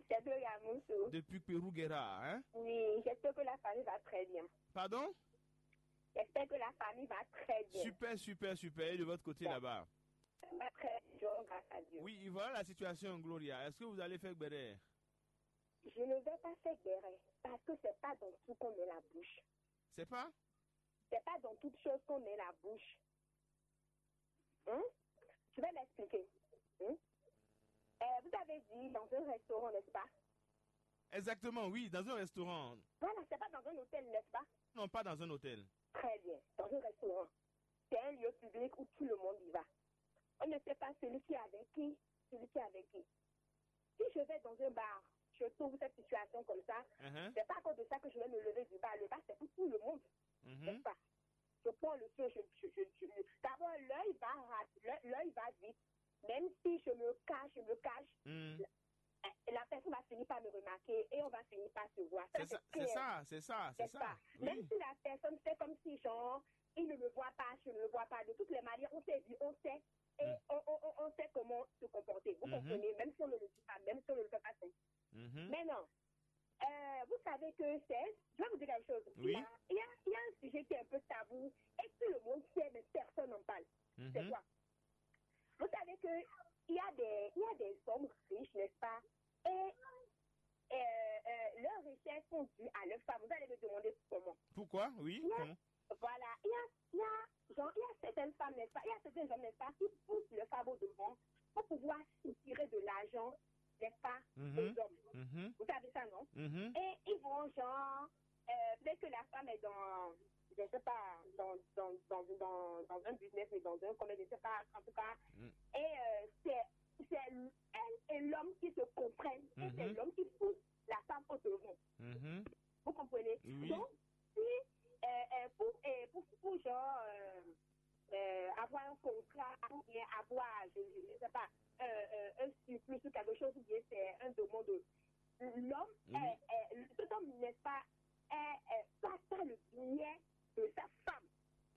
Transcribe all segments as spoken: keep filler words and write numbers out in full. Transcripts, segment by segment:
C'est Gloria Moussou. Depuis Peruguera, hein? Oui, j'espère que la famille va très bien. Pardon? J'espère que la famille va très bien. Super, super, super. Et de votre côté là-bas? Ça va très bien, grâce à Dieu. Oui, voilà la situation, Gloria. Est-ce que vous allez faire Gbéré? Je ne vais pas faire Gbéré parce que c'est pas dans tout qu'on met la bouche. C'est pas? C'est pas dans toute chose qu'on met la bouche. Hein? Je vais m'expliquer. Hein? Euh, vous avez dit dans un restaurant, n'est-ce pas? Exactement, oui, dans un restaurant. Voilà, c'est pas dans un hôtel, n'est-ce pas? Non, pas dans un hôtel. Très bien, dans un restaurant. C'est un lieu public où tout le monde y va. On ne sait pas celui qui est avec qui, celui qui est avec qui. Si je vais dans un bar, je trouve cette situation comme ça, c'est pas à cause de ça que je vais me lever du bar. Le bar, c'est pour tout le monde. N'est-ce pas? Je prends le feu, je, je, je, je- d'abord, l'œil va, ra- l'œil l'œil va vite. Même si je me cache, je me cache, la, la personne va finir par me remarquer et on va finir par se voir. Ça, c'est clair. C'est ça, c'est ça, c'est ça. Même si la personne fait comme si, genre, il ne me voit pas, je ne le vois pas. De toutes les manières, on s'est vu, on sait. Et on, on, on, on sait comment se comporter. Vous comprenez? Même si on ne le dit pas, même si on ne le fait pas. Maintenant, euh, vous savez que c'est, je vais vous dire quelque chose. Oui. Il y a, il y a, il y a un sujet qui est un peu tabou et tout le monde sait, mais personne n'en parle. C'est quoi? Vous savez que il y a des, il y a des hommes riches, n'est-ce pas? Et euh, euh, leurs richesses sont dues à leur femme. Vous allez me demander comment. Pourquoi? Oui. Comment? Voilà, il y a, il y a, genre, il y a certaines femmes, n'est-ce pas? Il y a certains hommes, n'est-ce pas, qui poussent leur femme au devant pour pouvoir soutirer de l'argent, n'est-ce pas, aux hommes. Vous savez ça, non? Et ils vont, genre, euh, peut-être que la femme est dans, je sais pas, dans, dans, dans, dans, dans un business, mais dans un commerce, je sais pas, en tout cas. Et euh, c'est, c'est elle et l'homme qui se comprennent. Et c'est l'homme qui pousse la femme au devant. Vous comprenez? Oui. Donc, si euh, euh, pour, euh, pour, pour, genre, euh, euh, avoir un contrat, ou bien avoir, je ne sais pas, euh, euh, un surplus ou quelque chose, ou bien c'est un demande. L'homme, euh, euh, cet homme, n'est-ce pas, euh, euh, passe par le biais de sa femme.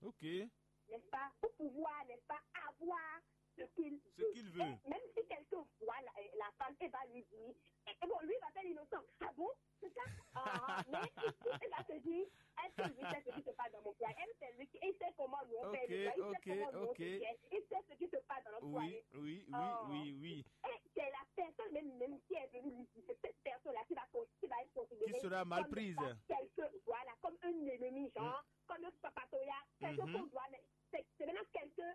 Ok. N'est-ce pas? Pour pouvoir, n'est-ce pas, avoir ce qu'il veut. Et même si quelqu'un voit la, la femme et va lui dire, et, et bon, lui va faire l'innocent. Ah bon? C'est ça? Ah, mais il, il va te dire, est-ce que lui sait ce qui se passe dans mon cœur? Elle, c'est lui qui, il sait comment nous on fait le cœur, il sait comment nous on se fait, il sait ce qui se passe dans notre foyer. Oui, oui, oui, oui. Et c'est la personne même, même qui est venue lui dire, c'est cette personne-là qui va, qui va être considérée qui sera mal prise, comme quelqu'un, voilà, comme un ennemi, genre, comme un papatoya, quelqu'un qu'on doit, mais c'est, c'est maintenant quelqu'un,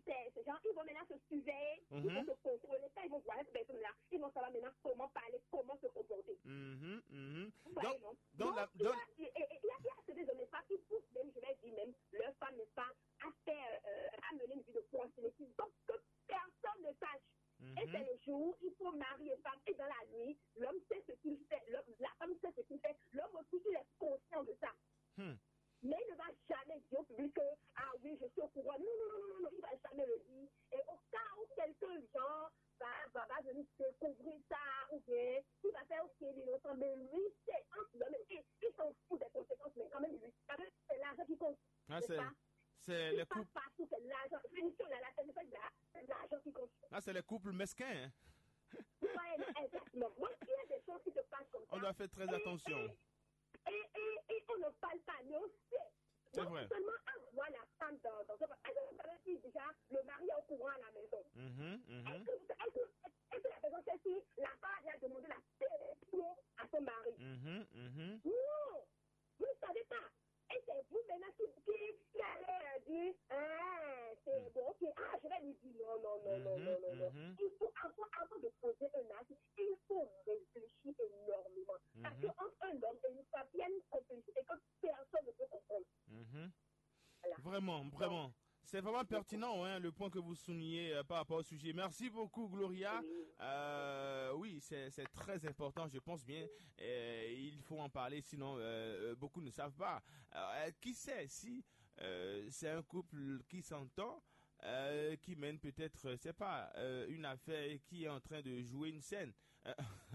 c'est, ces gens, ils vont maintenant se surveiller, ils vont se contrôler. Quand ils vont voir cette personne-là, ils vont savoir maintenant comment parler, comment se comporter. Vous voyez, donc, donc, donc, la, donc, il y a, et, et, il y a, il y a certains hommes, n'est-ce pas, qui poussent même, je vais dire même, leur femme, n'est-ce pas, à faire, euh, à mener une vie de prostituée. Donc, que personne ne sache. Et c'est le jour où ils sont mari et femme, et dans la nuit, l'homme sait ce qu'il fait, l'homme, la femme sait ce qu'il fait, l'homme aussi, il est conscient de ça. Mais il ne va jamais dire au public que, ah oui, je suis au courant. Non, non, non, non, non, il ne va jamais le dire. Et au cas où quelqu'un, genre, va, va, va venir découvrir ça, ou bien il va faire, ok, l'innocent, mais lui, c'est entre l'homme et il s'en fout des conséquences, mais quand même, lui, quand même, c'est l'argent qui compte. Ah, c'est, c'est les couples. Partout, c'est l'argent. Finition, la, la, c'est l'argent qui compte. Là, c'est les couples mesquins, hein. Ouais, exactement. Donc, il y a des choses qui se passent comme ça. On doit faire très attention. Et, et, et on ne parle pas, mais on sait. C'est vrai. Donc, seulement, elle voit la femme dans, dans un, elle veut savoir si déjà le mari est au courant à la maison. Est-ce que, est-ce que, est-ce que la personne sait si la femme a déjà demandé la permission à son mari? Non, vous ne savez pas. Et c'est vous maintenant qui, qui, qui allez, euh, dire, ah, c'est bon, ok, ah, je vais lui dire non, non, non, non, non, non, non. Il faut, avant, avant de poser un acte, il faut réfléchir énormément. Parce qu'entre un homme et une femme, il y a une complicité que personne ne peut comprendre. Voilà. Vraiment, vraiment. C'est vraiment pertinent, hein, le point que vous soulignez, euh, par rapport au sujet. Merci beaucoup, Gloria. Oui. Euh, oui, c'est, c'est très important, je pense bien. Euh, il faut en parler, sinon, euh, euh, beaucoup ne savent pas. Euh, qui sait si, euh, c'est un couple qui s'entend, euh, qui mène peut-être, euh, c'est pas, euh, une affaire et qui est en train de jouer une scène. Euh,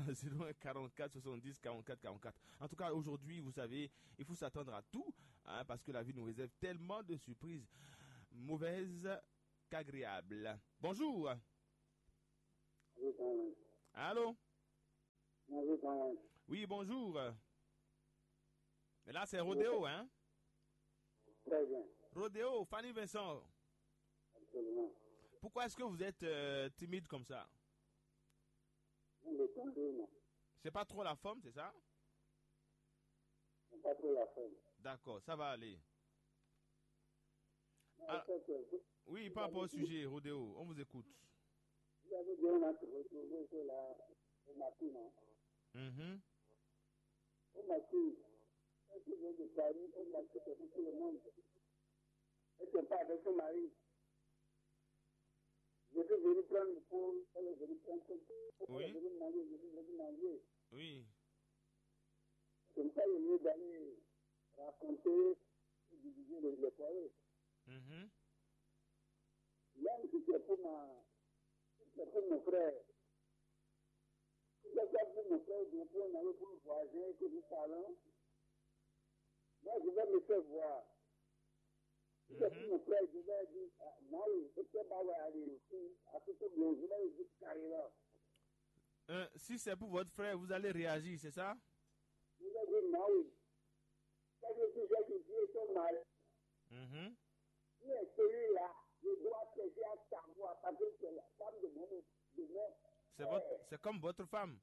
zéro un quarante-quatre soixante-dix quarante-quatre quarante-quatre. En tout cas, aujourd'hui, vous savez, il faut s'attendre à tout, hein, parce que la vie nous réserve tellement de surprises, mauvaises qu'agréables. Bonjour. Oui, bonjour. Allô? Oui, bonjour. Mais là, c'est Rodéo, hein? Très bien. Rodéo, Fanny Vincent, absolument. Pourquoi est-ce que vous êtes euh, timide comme ça? Non, mais attendez, non. C'est pas trop la forme, c'est ça? C'est pas trop la forme. D'accord, ça va aller. Ah, oui, par rapport au sujet, Rodéo, on vous écoute. Vous avez bien retrouvé que là, au matin, non? Mhm. Au matin, quand tu viens de Paris, au matin, c'est pour tout le monde. Et c'est pas avec son mari. Je suis venu prendre le pot, elle est venue prendre son pot, elle est venue manger, je suis venu manger. Oui. C'est pour ça qu'il est mieux d'aller raconter et diviser les, les foyers. Mhm. Même si c'est pour ma, si c'est pour mon frère, si c'est pour mon frère, ou bien pour un ami, pour un voisin que nous parlons, moi je vais me faire voir. Si c'est pour mon frère, je vais dire, ah, non, il était pas aller ici, à ce que je vais lui dire carrément. Euh, si c'est pour votre frère, vous allez réagir, c'est ça? Je vais dire, non, oui. Ça veut dire que Dieu est ton mari. Mhm. Qui est celui-là? Je dois chercher à savoir parce que c'est la femme de mon, de mon C'est votre, frère. C'est comme votre femme.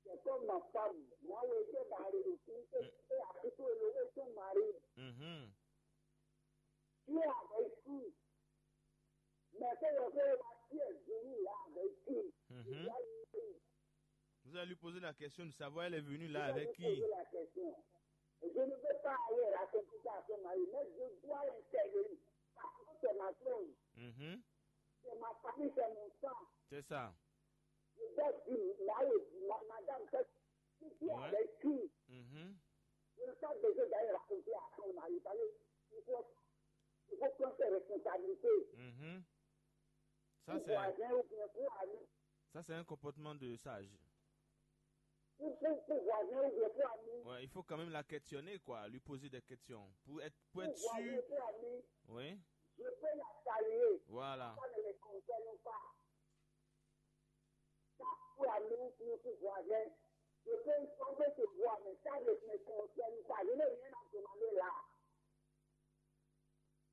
C'est comme ma femme. Moi, je vais aller ici et, et à ce que le est ton mari. Mhm. Tu es avec qui? Mais c'est le frère qui est venu là avec qui? Mhm. Il a dit, vous allez lui poser la question de savoir elle est venue là avec qui? Vous allez lui poser la question. Je ne veux pas aller raconter ça à son mari, mais je dois intervenir. Parce que c'est ma femme. Mhm. C'est ma famille, c'est mon sang. C'est ça. Je dois dire, là, ma-, madame, qu'est-ce que tu es avec qui? Mhm. Je n'ai pas besoin d'aller raconter à son mari. Parce que il faut, il faut prendre ses responsabilités. Mhm. Ça, pour c'est voisin ou bien pour ami. Ça, c'est un comportement de sage. Pour, pour, pour voisin ou bien pour ami. Ouais, il faut quand même la questionner, quoi, lui poser des questions pour être, pour être sûr. Pour voisin, pour ami. Oui. Je peux la saluer. Voilà. Ça ne me concerne pas. Ça, pour ami ou pour, pour voisin. Je peux tomber sur voisin, ça ne me concerne pas. Je n'ai rien à demander là.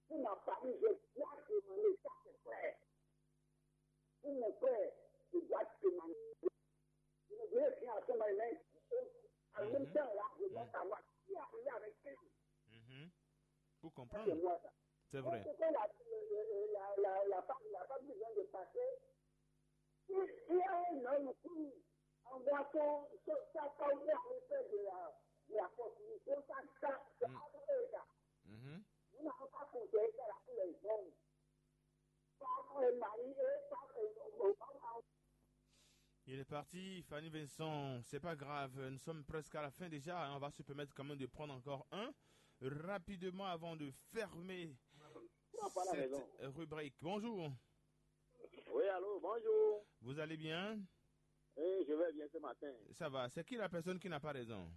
Pour ma famille, je dois demander, ça c'est clair. Pour mon frère, je dois demander. Je ne dirai rien à son mari, mais en même temps, là, je dois savoir qui a parlé avec qui. Mhm. Pour comprendre. C'est moi, ça. C'est vrai. Donc, ce que la, la, la, la, la femme, la femme qui vient de passer, il, il y a un homme qui envoie son, son, sa femme pour aller faire de la, de la prostitution, ça, ça, ça, ça. Mhm. Nous n'avons pas conseillé ça là pour les hommes. Pas pour les maris et pas pour les hommes. Il est parti, Fanny Vincent, c'est pas grave, nous sommes presque à la fin déjà, hein, on va se permettre quand même de prendre encore un rapidement avant de fermer cette rubrique. Bonjour. Oui, allô, bonjour. Vous allez bien? Oui, je vais bien ce matin. Ça va, c'est qui la personne qui n'a pas raison?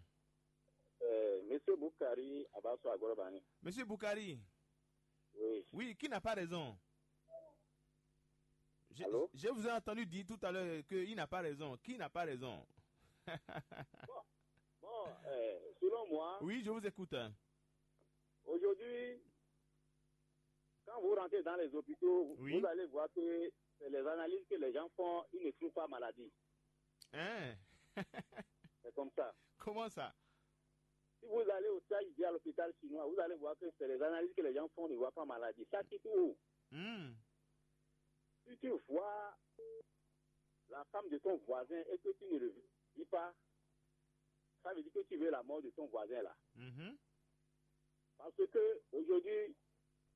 Euh, Monsieur Boukari Abasso Agorobani. Monsieur Boukari. Oui. Oui, qui n'a pas raison? Je, allô? Je vous ai entendu dire tout à l'heure qu'il n'a pas raison. Qui n'a pas raison? Bon, bon, euh, selon moi, oui, je vous écoute, hein. Aujourd'hui, quand vous rentrez dans les hôpitaux, oui, vous allez voir que c'est les analyses que les gens font, ils ne trouvent pas maladie. Hein? C'est comme ça. Comment ça? Si vous allez au Tchad, à l'hôpital chinois, vous allez voir que c'est les analyses que les gens font, ne voient pas maladie. Ça quitte où? Hmm. Si tu vois la femme de ton voisin et que tu ne le dis pas, ça veut dire que tu veux la mort de ton voisin là. Mhm. Parce que aujourd'hui,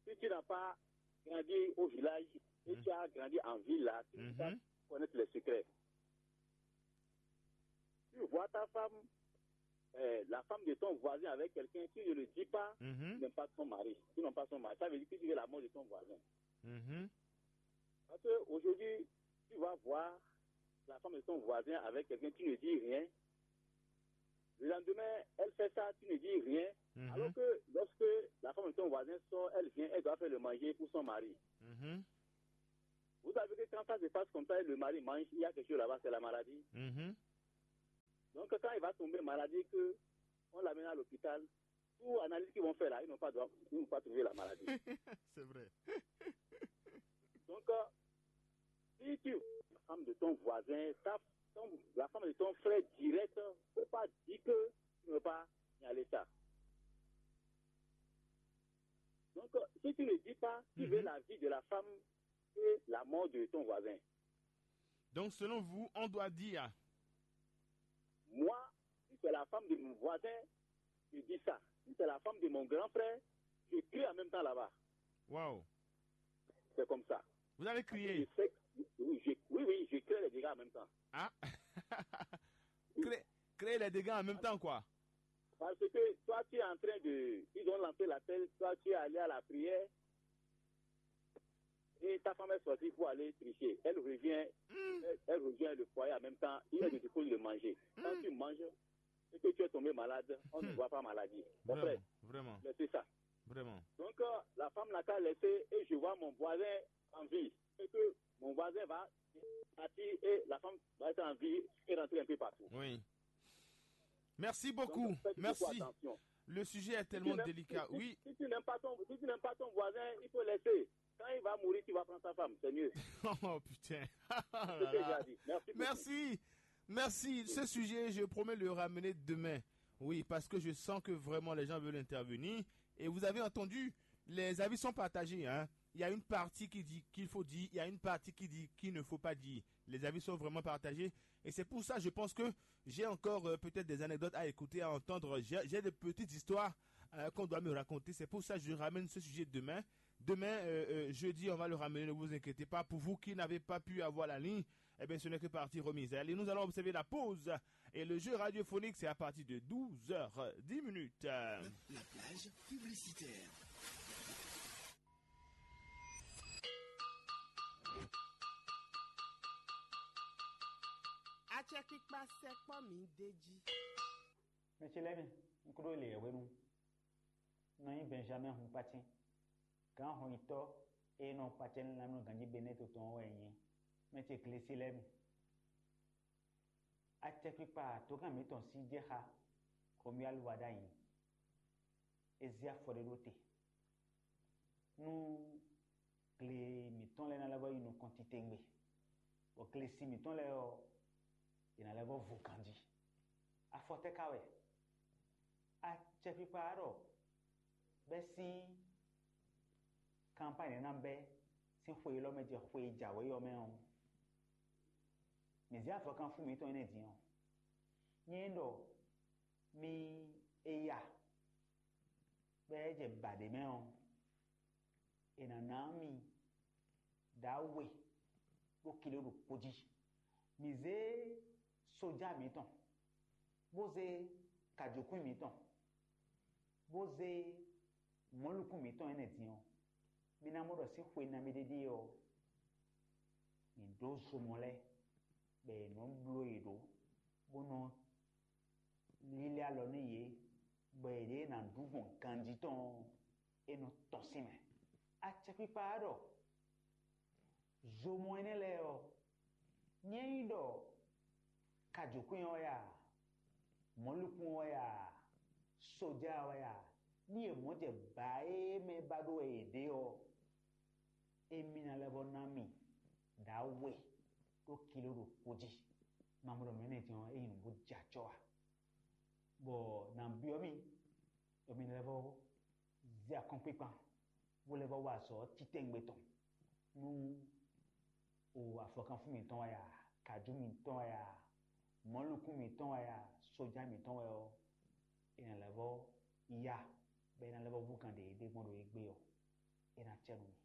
si tu n'as pas grandi au village et tu as grandi en ville là, tu ne peux pas connaître les secrets. Tu vois ta femme, euh, la femme de ton voisin avec quelqu'un, tu ne le dis pas, tu n'aimes pas ton mari, tu n'aimes pas son mari. Ça veut dire que tu veux la mort de ton voisin. Mhm. Parce qu'aujourd'hui, tu vas voir la femme de ton voisin avec quelqu'un, tu ne dis rien. Le lendemain, elle fait ça, tu ne dis rien. Mhm. Alors que lorsque la femme de ton voisin sort, elle vient, elle doit faire le manger pour son mari. Mhm. Vous savez que quand ça se passe comme ça et le mari mange, il y a quelque chose là-bas, c'est la maladie. Mhm. Donc, que quand il va tomber malade, que on l'amène à l'hôpital, tout analyse qu'ils vont faire là, ils n'ont pas, droit- ils n'ont pas trouvé la maladie. C'est vrai. Donc, euh, si tu la femme de ton voisin, ta, ton- la femme de ton frère direct, faut pas dire que tu ne veux pas signaler ça. Donc, euh, si tu ne dis pas, tu veux la vie de la femme et la mort de ton voisin. Donc, selon vous, on doit dire. Moi, si c'est la femme de mon voisin, je dis ça. Si c'est la femme de mon grand frère, je crie en même temps là-bas. Waouh. C'est comme ça. Vous allez crier. Je sais que- oui, je, oui, oui, je crée les dégâts en même temps. Ah. Créer, créer les dégâts en même temps, quoi. Parce que toi, tu es en train de. Ils ont lancé l'appel, toi, tu es allé à la prière. Et ta femme est sortie pour aller tricher. Elle revient, elle, elle revient le foyer en même temps. Il est de cause de manger. Quand tu manges et que tu es tombé malade, on ne voit pas maladie. Mon frère, vraiment, laissez ça. Vraiment. Donc, euh, la femme n'a qu'à laisser et je vois mon voisin en vie. Et que mon voisin va partir et la femme va être en vie et rentrer un peu partout. Oui. Merci beaucoup. Donc, faites beaucoup Merci. Attention. Le sujet est tellement délicat. Si tu n'aimes- si- si- Oui. Si tu n'aimes pas ton, si tu n'aimes pas ton voisin, il faut laisser. Quand il va mourir, tu vas prendre sa femme. C'est mieux. Oh putain. C'est ce que j'ai à dire. Merci beaucoup. Merci. Merci. Ce sujet, je promets le ramener demain. Oui, parce que je sens que vraiment les gens veulent intervenir. Et vous avez entendu, les avis sont partagés, hein. Il y a une partie qui dit qu'il faut dire, il y a une partie qui dit qu'il ne faut pas dire. Les avis sont vraiment partagés. Et c'est pour ça, je pense que j'ai encore euh, peut-être des anecdotes à écouter, à entendre. J'ai j'ai des petites histoires euh, qu'on doit me raconter. C'est pour ça que je ramène ce sujet demain. Demain, euh, euh, jeudi, on va le ramener, ne vous inquiétez pas. Pour vous qui n'avez pas pu avoir la ligne, eh bien, ce n'est que partie remise. Allez, nous allons observer la pause. Et le jeu radiophonique, c'est à partir de douze heures dix minutes. La plage publicitaire. Acɛkpikpa sɛkpɔ́ mi d'é jí. Mɛ ce lɛ́ɛ mi, un kúɖó le yɛ̌hwenu. Nɔ nyí Bɛnjamɛ́ɛ hun kpátín. Gǎn hɔnyitɔ́ e nɔ kpacɛ nú lanmɛ ganjí Benɛ́ɛ to tɔn ɔ́ wɛ nyí. Mɛ ce Glesi lɛ́ɛ mi. Acɛkpikpa dǒkan mǐtɔn sí jɛ xá Xomuyálu wá ɖ'ayǐ. É zé afɔ ɖé ɖó te. Nú gle mǐtɔn lɛ́ɛ ná lɛ́ vɔ́ yi nukɔn titewungbe, bɔ glesi mǐtɔn lɛ́ɛ ɔ́, è nǎ lɛ́ vɔ́ vo ganjí. Afɔ tɛ́ ka wɛ? Acɛkpikpa ɔ́ ɖɔ bɛ́ sín kanpány ná bɛ́ sín xwe élɔ́ mɛ jɛ xwe e jǎwe ɔ́ mɛ ɔ́, mǐ zé avɔkanfún mǐtɔn énɛ́ din ɔ́, nyɛ ɖɔ mi e ya bɔ é jɛ ba ɖě mɛ ɔ́, è nǎ ná mì ɖǎwe ɖó kiló ɖokpó jí. Mǐ zé sójá mǐtɔn, bó zé kajǒkwín mǐtɔn, bó zé mɔ̌likún mǐtɔn énɛ́ din ɔ́, mi ná mɔ ɖɔ sín xwe nabí ɖé ɖíe ɔ́, mǐ ɖǒ zomɔ lɛ́ɛ, bɔ è nɔ́ bló yě ɖó, bó nɔ́ lílɛ́ alɔ nú yě, bɔ yěɖée ná ɖu gbɔn ganjí tɔn ɔ́, é nɔ tɔ́n sín mɛ. Acɛkpikpa ɔ́ ɖɔ zomɔ énɛ́ lɛ́ɛ ɔ́, nyɛ nyí ɖɔ kajǒkwín ɔ́ wɛ a, mɔ̌likún ɔ́ wɛ a, sójá ɔ́ wɛ a, ní è mɔ̌ jɛ bǎ e mɛ ba ɖó wɛ yě ɖe ɔ́, émí ná lɛ́ vɔ́ ná mì ɖǎwe ɖó kiló ɖokpó jí. Mamɔɖɔ mɛ̌nɛjɛ́n ɔ́, é nyí nǔ bó jɛ acɔ́ ǎ. Bɔ nǎ byɔ́ mì, bɔ mi lɛ́ vɔ́ zé akɔ́nkpinkpan, bó lɛ́ vɔ́ wa azɔ̌ titɛngbe tɔn nú o afɔkanfún mǐtɔn wɛ a, kǎjú mǐtɔn wɛ a, mɔ̌likún mǐtɔn wɛ a, sójá mǐtɔn wɛ ɔ́, è nǎ lɛ́ vɔ́ ya, bɔ è nǎ lɛ́ vɔ́ hú kan ɖě e ɖe gbɔn ɖo égbé ɔ́, é ná cɛ nú mi.